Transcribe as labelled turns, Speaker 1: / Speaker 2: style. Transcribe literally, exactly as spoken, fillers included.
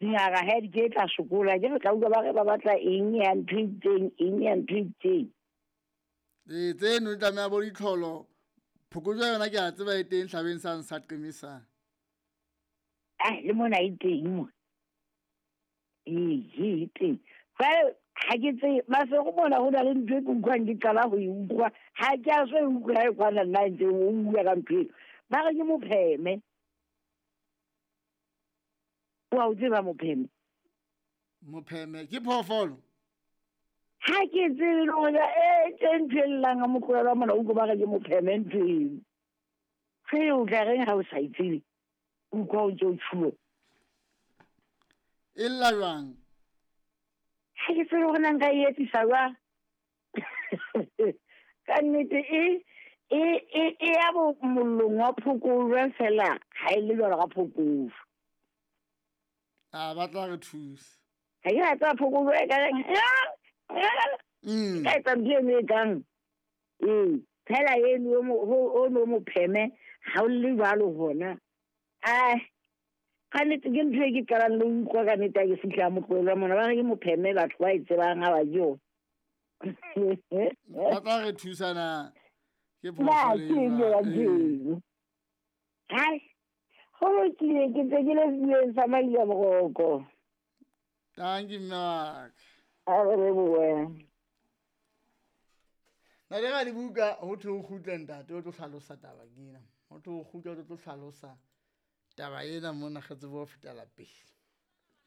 Speaker 1: Dingaka ha di ke tla sokola, ke re tla utlwa ba re ba batla eng ya ntho e itseng, eng ya ntho e itseng.
Speaker 2: Ee, tseno di tlameha bo ditlholo. Phokojwe yona ke a tseba e teng hlabeng sane sa Qemisang.
Speaker 1: Ah, le mona e teng mo. Ee, e teng. Jwale ha ke tsebe, Maseru mona ho na le ntho e ke utlwang ke qala ho e utlwa. Ha ke a so e utlwe ha e kwana nna e ntseng o bua ka ntho eno. Ba re ke mopheme. Wa o tseba mopheme?
Speaker 2: Mopheme ke phoofolo?
Speaker 1: Ha ke tsebe le hore e tse ntho e llang ha motlohela mona utlwe ba re ke mopheme ntho eno. Ge o tla reng ha o sa e tsebe? Utlwa o ntse o tjhuwa.
Speaker 2: E lla jwang?
Speaker 1: Ha ke tsebe hore na nka e etsisa jwang. Ka nnete e, e, e, e ya bo mollong wa phokojwe fela ha e le jwalo ka phokojwe.
Speaker 2: A ba tla re thusa.
Speaker 1: Ha ke rata phokojwe e ka reng,
Speaker 2: Mm.
Speaker 1: ka etsa ntho eno e kang. Ee, fela eno o mo-, o, o no mopheme ha o le jwalo hona. Ai, ka nnete ke ntho e ke qalang le ho utlwa ka nnete ha ke fihla motlohelo mona. Ba re ke mopheme, batho ba e tsebang ha ba je yona.
Speaker 2: Ba tla re thusa na? Ke
Speaker 1: Na,
Speaker 2: phoofolo
Speaker 1: ke
Speaker 2: e
Speaker 1: eng ya
Speaker 2: jwang?
Speaker 1: ntho eno? Hai, ho lokile, ke ntse ke le sedibeng sa Maila Moroko.
Speaker 2: Thank you, mme wa ka.
Speaker 1: A re lebohe.
Speaker 2: Na le ga dibuka ho thwe o kgutle ntate o tlo hlalosa taba ke ena. Ho thwe o kgutle o tlo hlalosa taba ena mona re tsebe ho fetela pele.